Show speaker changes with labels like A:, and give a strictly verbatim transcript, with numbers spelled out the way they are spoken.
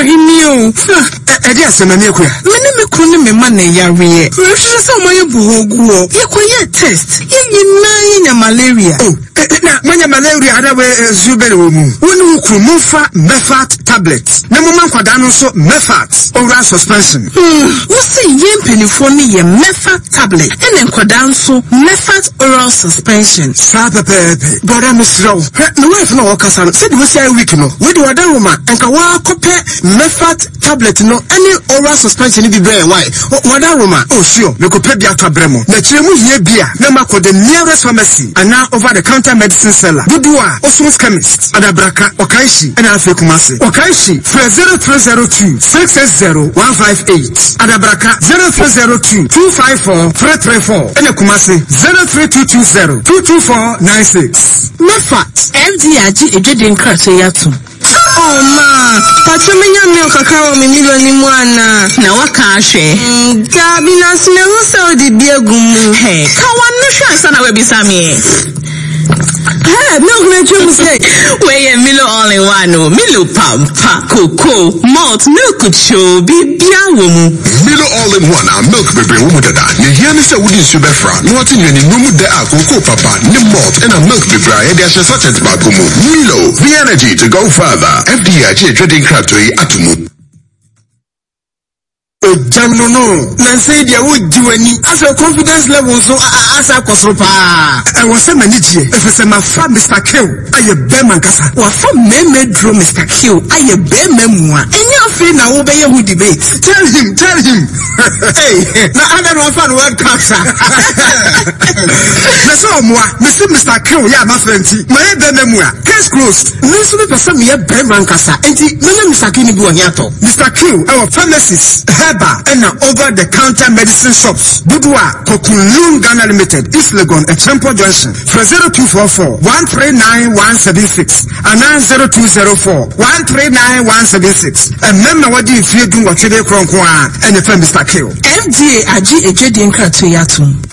A: Ɔhene o.
B: Ɛde asɛm ani akua.
A: Me ne me kunu ne me ma na yareɛ. Mehwehwɛ sɛ ɔma yɛ buhoguɔ. Yɛkɔyɛ test. Yɛn nyinaa yɛnya malaria.
B: Oh, na moanya malaria ada wɔ nsuo bɛne wɔ mu. Wo ne wo kunu momfa Mefat tablet. Na momma nkwadaa no nso Mefat oral suspension.
A: Hmm, wo se yɛn mpanimfoɔ no yɛ Mefat tablet ɛna nkwadaa nso Mefat oral suspension.
B: Saa pɛpɛɛpɛ. Brother mesrɛ wo. Hwɛ, me wife na ɔkasa no, sɛdeɛ wosi ayɛ week no, wei de wɔda Roma, nka wɔakɔpɛ Mefat tablet no ɛne oral suspension bi brɛ why wɔda Roma. Oh sure, mekɔpɛ bi atɔ abrɛ mo. Na kyerɛ mu hia bi a, na makɔ the nearest pharmacy anaa over the counter medicine seller. Dodoɔ a, Osmos Chemist, Adabraka, Okaishie, ɛna afei Kumasi. Okaishie, frɛ zero three zero two six six zero one five eight. Adabraka zero three zero two two five four three three four. Ɛna Kumasi zero three two two zero two two four nine six.
A: Mefat. F D A agye edwede nkrataa yi atom.
C: Oh ma, patro menya milk kakra wɔ me Milo ni mu ana.
A: Na waka ahwɛ.
C: Mm, Gabi na so me hu sɛ ɔde bi agu mu.
A: Hey, ka wano hwɛ ansa na wabisa me.
C: Hey, milk na twɛ mu sɛ.
A: Wei yɛ Milo all in one o. Milo pampa, cocoa, malt, milk cho, bibia wɔ mu.
D: Milo all in one a milk bebree wɔ mu dada. Ne hia ne sɛ wode nsuo bɛfra na wate nnuane nnuro mu dɛ a cocoa papa ne malt ɛna milk bebree a yɛde ahyɛ sachet baako mu. Milo, the energy to go further. F D A agye adwadi nkratoɔ yi ato mu.
B: Ogya no no, na nsɛn deɛ wogye w'ani. Asɛ confidence level nso asa akɔ soro paa. Ɛwɔ sɛ m'ani gyeɛ, ɛfiri sɛ mafa Mister Kill ayɛ bɛrima nkasa.
A: Wafa mmarima duro Mister Kill ayɛ bɛrima mua. Ɛnyɛ afei na wobɛyɛ ho debate.
B: Tell him, tell him. Hey, na ada na wafa no World Cup sa. Na sɛ ɔmoa, mesi Mister Kill yɛ amafra nti, mayɛ bɛrima mua. Case closed.
A: Me nso mepɛ sɛ meyɛ bɛrima nkasa, nti mɛnya Mister Kill no bi wɔ he atɔ.
B: Mister Kill ɛwɔ pharmacies, herbal, ɛna over the counter medicine shops. Dodoɔ a Kokunlun Ghana Limited, East Legon, Echempo Junction. For zero two four four one three nine one seven six and nine zero two zero four one three nine one seven six. And member what do you feel doing what you do and the Mister Kill.
A: F D A agye edwedi nkratoɔ yi atom.